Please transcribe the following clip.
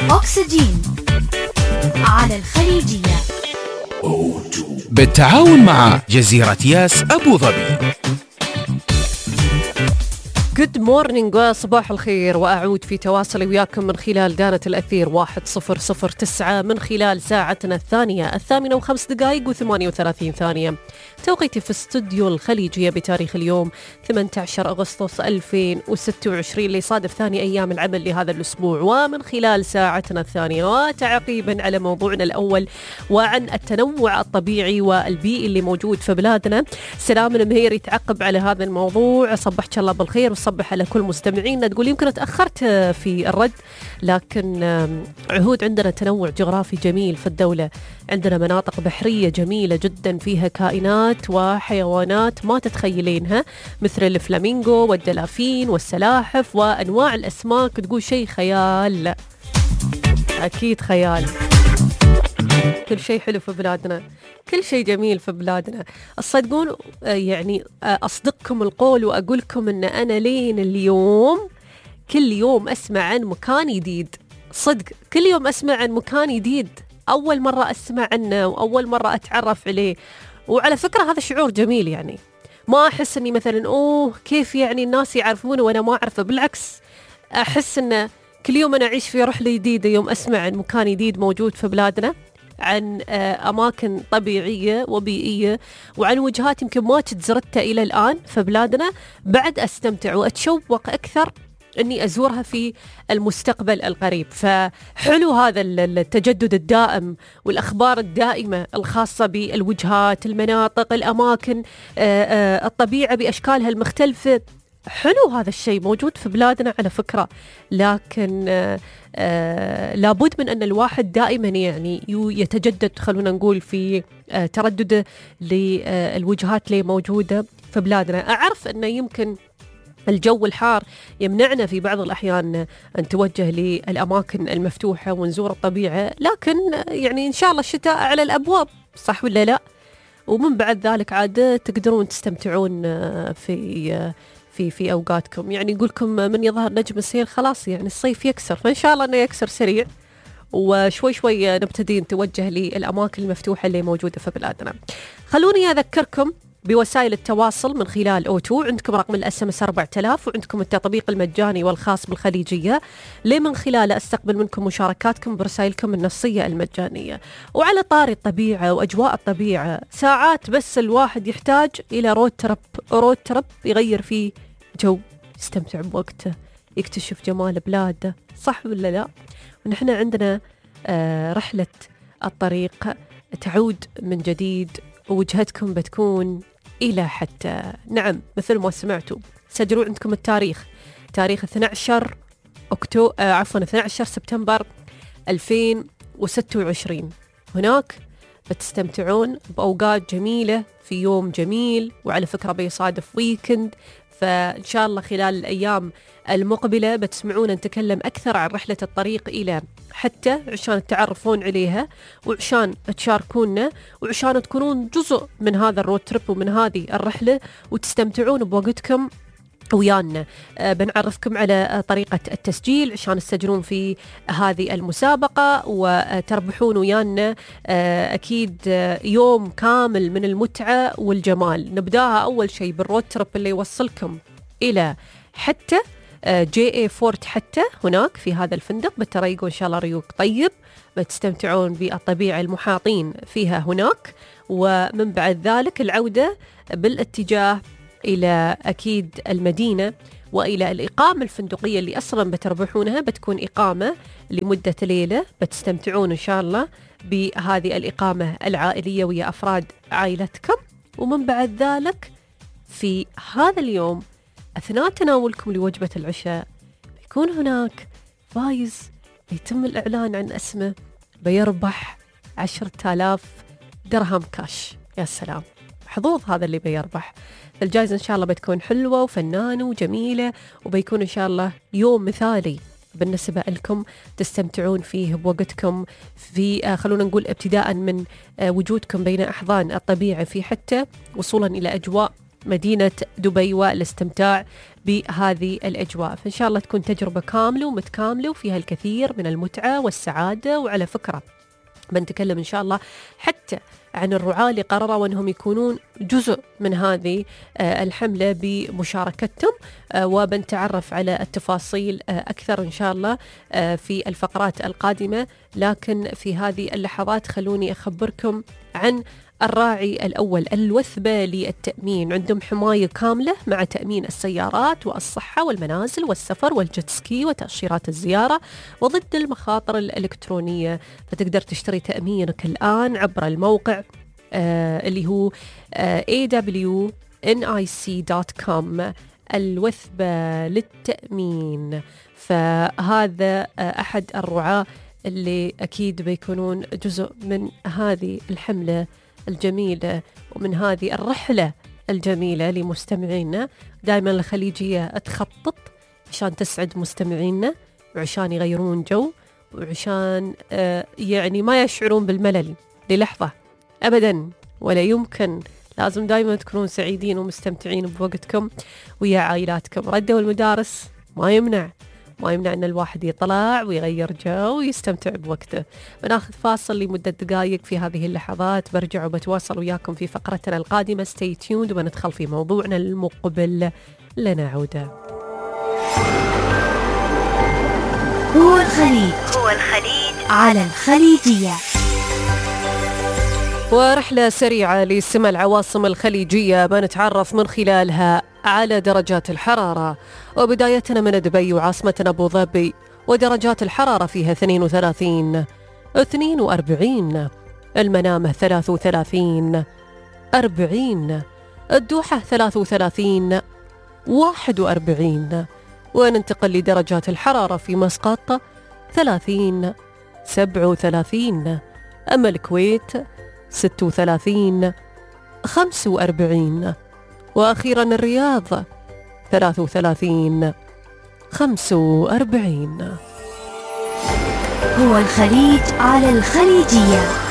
أكسجين على الخليجية بالتعاون مع جزيرة ياس أبو ظبي. Good morning وصباح الخير، وأعود في تواصلي وياكم من خلال دانة الأثير 1009 من خلال ساعتنا الثانية 8:05 و38 ثانية توقيتي في استوديو الخليجية بتاريخ اليوم 18 أغسطس 2026 اللي يصادف ثاني أيام العمل لهذا الأسبوع. ومن خلال ساعتنا الثانية وتعقيبا على موضوعنا الأول وعن التنوع الطبيعي والبيئي اللي موجود في بلادنا، سلام المهير يتعقب على هذا الموضوع. صبحك الله بالخير وصبح على كل مستمعينا. تقول يمكن تأخرت في الرد، لكن عهود عندنا تنوع جغرافي جميل في الدولة، عندنا مناطق بحرية جميلة جدا فيها كائنات وحيوانات ما تتخيلينها مثل الفلامينغو والدلافين والسلاحف وأنواع الأسماك. تقول شيء خيال، أكيد خيال. كل شيء حلو في بلادنا، كل شيء جميل في بلادنا. الصدقون يعني أصدقكم القول وأقولكم أن أنا لين اليوم كل يوم أسمع عن مكان جديد، صدق كل يوم أسمع عن مكان جديد أول مرة أسمع عنه وأول مرة أتعرف عليه. وعلى فكرة هذا شعور جميل، يعني ما أحس أني مثلا كيف يعني الناس يعرفونه وأنا ما أعرفه، بالعكس أحس أن كل يوم أنا أعيش في رحلة جديدة يوم أسمع عن مكان جديد موجود في بلادنا، عن أماكن طبيعية وبيئية وعن وجهات يمكن ما زرتها إلى الآن في بلادنا. بعد أستمتع وأتشوق أكثر أني أزورها في المستقبل القريب. فحلو هذا التجدد الدائم والأخبار الدائمة الخاصة بالوجهات، المناطق، الأماكن، الطبيعة بأشكالها المختلفة. حلو هذا الشيء موجود في بلادنا على فكرة، لكن لابد من أن الواحد دائما يعني يتجدد، خلونا نقول في تردده للوجهات اللي موجودة في بلادنا. أعرف أنه يمكن الجو الحار يمنعنا في بعض الأحيان أن نتوجه للأماكن المفتوحة ونزور الطبيعة، لكن يعني إن شاء الله الشتاء على الأبواب، صح ولا لا؟ ومن بعد ذلك عاد تقدرون تستمتعون في أوقاتكم. يعني يقولكم من يظهر نجم السيل خلاص يعني الصيف يكسر، فإن شاء الله أنه يكسر سريع وشوي شوي نبتدي نتوجه للأماكن المفتوحة اللي موجودة في بلادنا. خلوني أذكركم بوسائل التواصل من خلال O2. عندكم رقم الSMS 4000 وعندكم التطبيق المجاني والخاص بالخليجية اللي من خلاله أستقبل منكم مشاركاتكم برسائلكم النصية المجانية. وعلى طاري الطبيعة وأجواء الطبيعة، ساعات بس الواحد يحتاج إلى رود ترب يغير فيه جو، يستمتع بوقته، يكتشف جمال بلاده، صح ولا لا؟ ونحن عندنا رحلة الطريق تعود من جديد ووجهتكم بتكون إلى حتى. نعم مثل ما سمعتوا، سجلوا عندكم التاريخ، تاريخ 12 سبتمبر 2026. هناك بتستمتعون بأوقات جميلة في يوم جميل، وعلى فكرة بيصادف ويكند، فإن شاء الله خلال الأيام المقبلة بتسمعون نتكلم أكثر عن رحلة الطريق إلى حتى عشان تعرفون عليها وعشان تشاركونا وعشان تكونون جزء من هذا الرود تريب ومن هذه الرحلة وتستمتعون بوقتكم ويانا. بنعرفكم على طريقة التسجيل عشان تسجلون في هذه المسابقة وتربحون ويانا أكيد يوم كامل من المتعة والجمال. نبداها أول شيء بالرود تريب اللي يوصلكم إلى حتى JA فورت، حتى هناك في هذا الفندق بتريقوا إن شاء الله ريوق طيب، بتستمتعون بالطبيعة المحاطين فيها هناك. ومن بعد ذلك العودة بالاتجاه إلى أكيد المدينة وإلى الإقامة الفندقية اللي أصلا بتربحونها، بتكون إقامة لمدة ليلة، بتستمتعون إن شاء الله بهذه الإقامة العائلية ويا أفراد عائلتكم. ومن بعد ذلك في هذا اليوم أثناء تناولكم لوجبة العشاء بيكون هناك فايز يتم الإعلان عن اسمه، بيربح 10,000 درهم كاش. يا سلام، حظوظ هذا اللي بيربح. الجائزة إن شاء الله بتكون حلوة وفنانة وجميلة، وبيكون إن شاء الله يوم مثالي بالنسبة لكم تستمتعون فيه بوقتكم في خلونا نقول ابتداء من وجودكم بين أحضان الطبيعة في حتى وصولا إلى أجواء مدينة دبي والاستمتاع بهذه الأجواء. فإن شاء الله تكون تجربة كاملة ومتكاملة وفيها الكثير من المتعة والسعادة. وعلى فكرة بنتكلم إن شاء الله حتى عن الرعاة اللي قرروا أنهم يكونون جزء من هذه الحملة بمشاركتهم، وبنتعرف على التفاصيل أكثر إن شاء الله في الفقرات القادمة. لكن في هذه اللحظات خلوني أخبركم عن الراعي الأول، الوثبة للتأمين. عندهم حماية كاملة مع تأمين السيارات والصحة والمنازل والسفر والجيتسكي وتأشيرات الزيارة وضد المخاطر الإلكترونية. فتقدر تشتري تأمينك الآن عبر الموقع اللي هو awnic.com، الوثبة للتأمين. فهذا أحد الرعاة اللي أكيد بيكونون جزء من هذه الحملة الجميلة ومن هذه الرحلة الجميلة لمستمعينا. دائما الخليجية تخطط عشان تسعد مستمعينا وعشان يغيرون جو وعشان يعني ما يشعرون بالملل للحظة أبدا ولا يمكن. لازم دائما تكونون سعيدين ومستمتعين بوقتكم ويا عائلاتكم. ردوا المدارس ما يمنع أن الواحد يطلع ويغير جو ويستمتع بوقته. بناخذ فاصل لمدة دقائق في هذه اللحظات، برجع وبتواصل وياكم في فقرتنا القادمة. stay tuned وبندخل في موضوعنا المقبل. لنعود. هو الخليج على الخليجية. ورحلة سريعة لسمع العواصم الخليجية بنتعرف من خلالها على درجات الحرارة، وبدايتنا من دبي وعاصمتنا أبو ظبي، ودرجات الحرارة فيها 32 42، المنامة 33 40، الدوحة 33 41. وننتقل لدرجات الحرارة في مسقط 30 37، أما الكويت 36 45، وأخيرا الرياض 33 45. هو الخليج على الخليجية.